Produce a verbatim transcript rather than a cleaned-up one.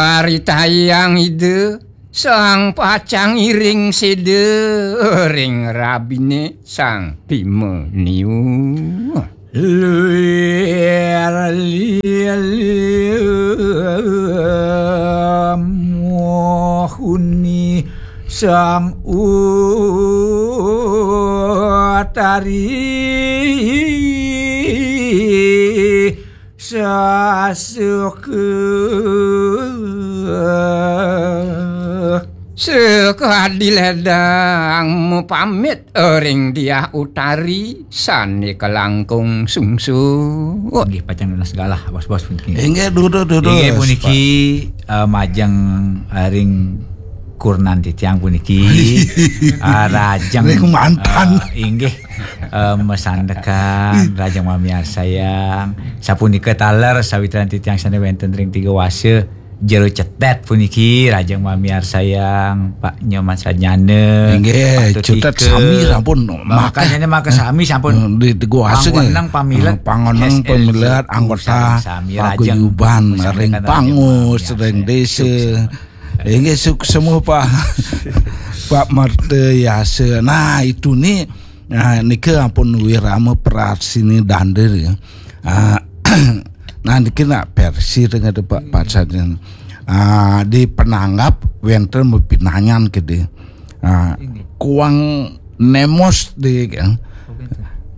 Paritayang Ida, sang pacang iring seda ring rabine Sang Bima niu. Lir lili muhuni Sang Utari sasuka. Sekadi ledang mapamit ring Diah Utari sane kalangkung sungsut. Inggih pacang nunas galah, bos-bos puniki. Inggih, duduh, duduh. Inggih puniki, eh, majeng, eh, ring kurnan titiang puniki. Ah, rajeng, ring mantan. Eh, inggih, eh, masandekan, rajeng mamiarsayang. Sapunika taler sawitran titiang sane wenten ring tiga wasa jero cetet puniki, rajeng mamiarsayang, Pak Nyoman Sajana, inggih, Pak Tutika. Cetet sami sampun makanyane maka sami sampun. Hmm, di, di gua asing, pangweneng pamilet, hmm, pangweneng S L J pamilet anggota sami rajeng paguyuban ring pangus, rajeng ring desa. Inggih, suksma, Pak. Pak Marta Yasa. Nah, itu nih, nah, nika ampun wirama prasini dandir ya. Ah, nah, niki nak versi dengan Pak Pacan. Ah, di penanggap wenten mapinanyan kede. Ah, kuang nemos di, ya.